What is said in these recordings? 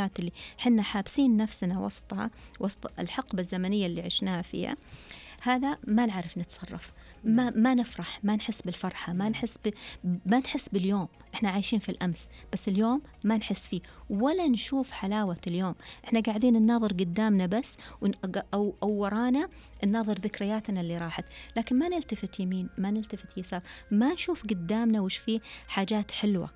الذكريات اللي حنا حابسين نفسنا وسطها، وسط الحقبة الزمنية اللي عشناها فيها، هذا ما نعرف نتصرف، ما نفرح، ما نحس بالفرحة، ما نحس باليوم. احنا عايشين في الأمس، بس اليوم ما نحس فيه ولا نشوف حلاوة اليوم. احنا قاعدين نناظر قدامنا بس، أو ورانا نناظر ذكرياتنا اللي راحت، لكن ما نلتفت يمين، ما نلتفت يسار، ما نشوف قدامنا وش فيه حاجات حلوة.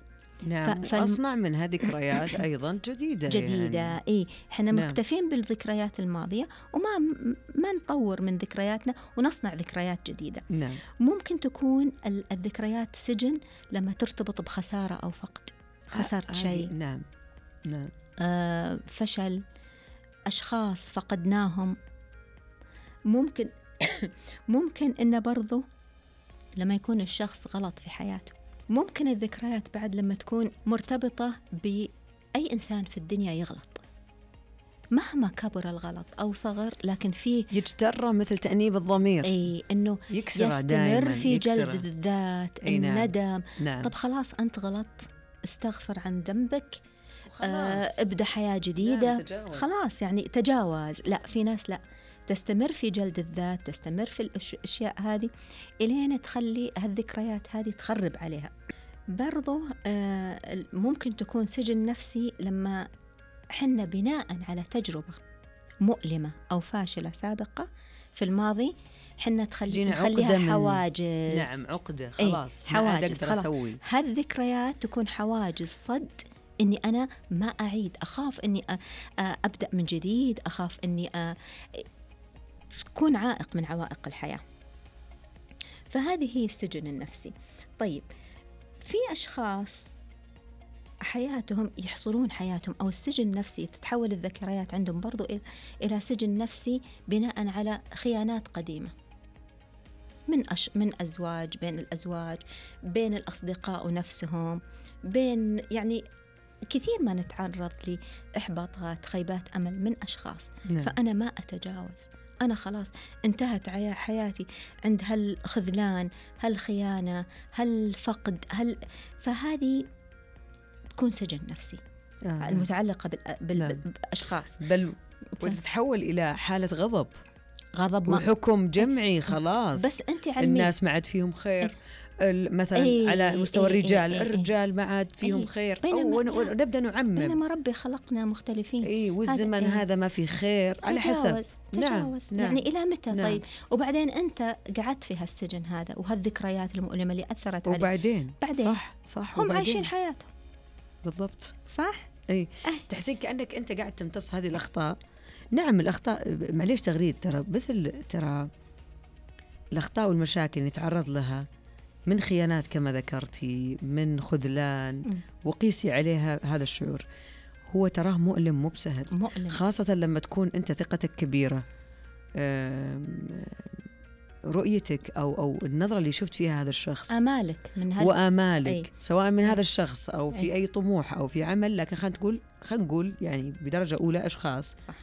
نعم. وأصنع منها ذكريات أيضا جديدة يعني. إيه، إحنا نعم. مكتفين بالذكريات الماضية وما نطور من ذكرياتنا ونصنع ذكريات جديدة. نعم. ممكن تكون الذكريات سجن لما ترتبط بخسارة أو فقد، خسرت شيء. نعم نعم. فشل، أشخاص فقدناهم. ممكن إنه برضو لما يكون الشخص غلط في حياته. ممكن الذكريات بعد لما تكون مرتبطة بأي إنسان في الدنيا يغلط، مهما كبر الغلط أو صغر، لكن فيه يجترى مثل تأنيب الضمير، أي إنه يستمر في جلد الذات، الندم. نعم. طب خلاص أنت غلط، استغفر عن ذنبك، ابدأ حياة جديدة. نعم، تجاوز. خلاص يعني تجاوز. لا، في ناس لا، تستمر في جلد الذات، تستمر في الأشياء هذه إلين تخلي هالذكريات هذه تخرب عليها. برضو ممكن تكون سجن نفسي لما حنا بناء على تجربة مؤلمة أو فاشلة سابقة في الماضي، حنا نخليها حواجز. نعم، عقدة. خلاص حواجز، ما عاد أقدر أسوي. هالذكريات تكون حواجز صد إني أنا ما أعيد، أخاف إني أبدأ من جديد، أخاف إني تكون عائق من عوائق الحياة. فهذه هي السجن النفسي. طيب، في أشخاص حياتهم يحصرون حياتهم، أو السجن النفسي تتحول الذكريات عندهم برضو إلى سجن نفسي بناء على خيانات قديمة من أزواج، بين الأزواج، بين الأصدقاء نفسهم، بين يعني كثير ما نتعرض لإحباطات، خيبات أمل من أشخاص. نعم. فأنا ما أتجاوز، أنا خلاص انتهت حياتي عند هالخذلان، هالخيانة، هالفقد، فهذه تكون سجن نفسي المتعلقة بالأشخاص، بل وتتحول إلى حالة غضب وحكم جمعي. خلاص بس أنت الناس ما عاد فيهم خير. مثلا على مستوى الرجال ما عاد فيهم خير، ونبدأ نعمم بينما ربي خلقنا مختلفين. والزمن هذا ما في خير على حسب. تجاوز. نعم. يعني إلى متى؟ نعم. طيب، وبعدين أنت قعدت في هالسجن هذا وهالذكريات المؤلمة اللي أثرت عليك، وبعدين صح هم عايشين حياتهم بالضبط. صح. تحسين كأنك أنت قاعد تمتص هذه الأخطاء. نعم، الأخطاء معليش تغريد، ترى الأخطاء والمشاكل نتعرض لها من خيانات كما ذكرتي، من خذلان، وقيسي عليها هذا الشعور. هو تراه مؤلم، مو بسهل، خاصة لما تكون أنت ثقتك كبيرة، رؤيتك أو النظرة اللي شفت فيها هذا الشخص، آمالك وآمالك سواء من هذا الشخص أو في أي طموح أو في عمل. لكن خلينا نقول يعني بدرجة أولى أشخاص، صح.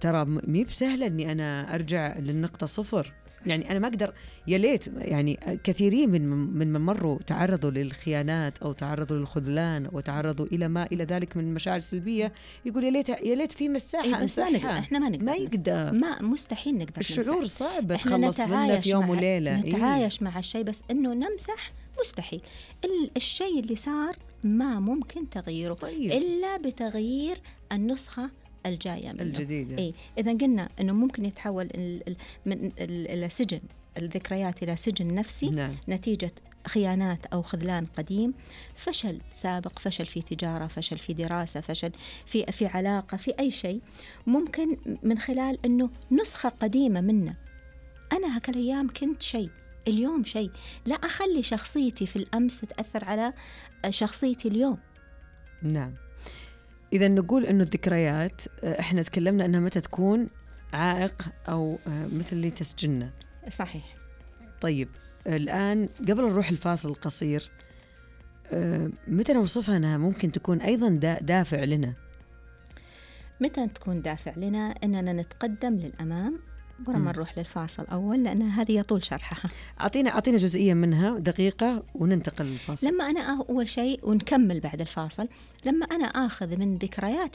ترى مي بسهلة أني أنا أرجع للنقطة صفر. صح. يعني أنا ما أقدر، يا ليت يعني كثيرين من مروا تعرضوا للخيانات أو تعرضوا للخذلان وتعرضوا إلى ما إلى ذلك من مشاعر سلبية، يقول يا ليت في مساحة أمسحها. إحنا ما نقدر، مستحيل نقدر. الشعور صعب تخلص منه في يوم وليلة. نتعايش مع الشيء، بس إنه نمسح مستحيل. الشيء اللي صار ما ممكن تغييره. طيب. إلا بتغيير النسخة الجاية منه الجديدة. إذا قلنا أنه ممكن يتحول من السجن الذكريات إلى سجن نفسي. نعم. نتيجة خيانات أو خذلان قديم، فشل سابق، فشل في تجارة، فشل في دراسة، فشل في علاقة، في أي شيء، ممكن من خلال أنه نسخة قديمة منا. أنا هكالأيام كنت شيء، اليوم شيء، لا أخلي شخصيتي في الأمس تأثر على شخصيتي اليوم. نعم. إذا نقول أنه الذكريات إحنا تكلمنا أنها متى تكون عائق أو مثل اللي تسجننا. صحيح. طيب، الآن قبل نروح الفاصل القصير، متى نوصفها أنها ممكن تكون أيضا دافع لنا؟ متى تكون دافع لنا؟ أننا نتقدم للأمام ولما نروح للفاصل أول، لأن هذه يطول شرحها. أعطينا جزئية منها دقيقة وننتقل للفاصل. لما أنا أول شيء ونكمل بعد الفاصل، لما أنا أخذ من ذكرياتي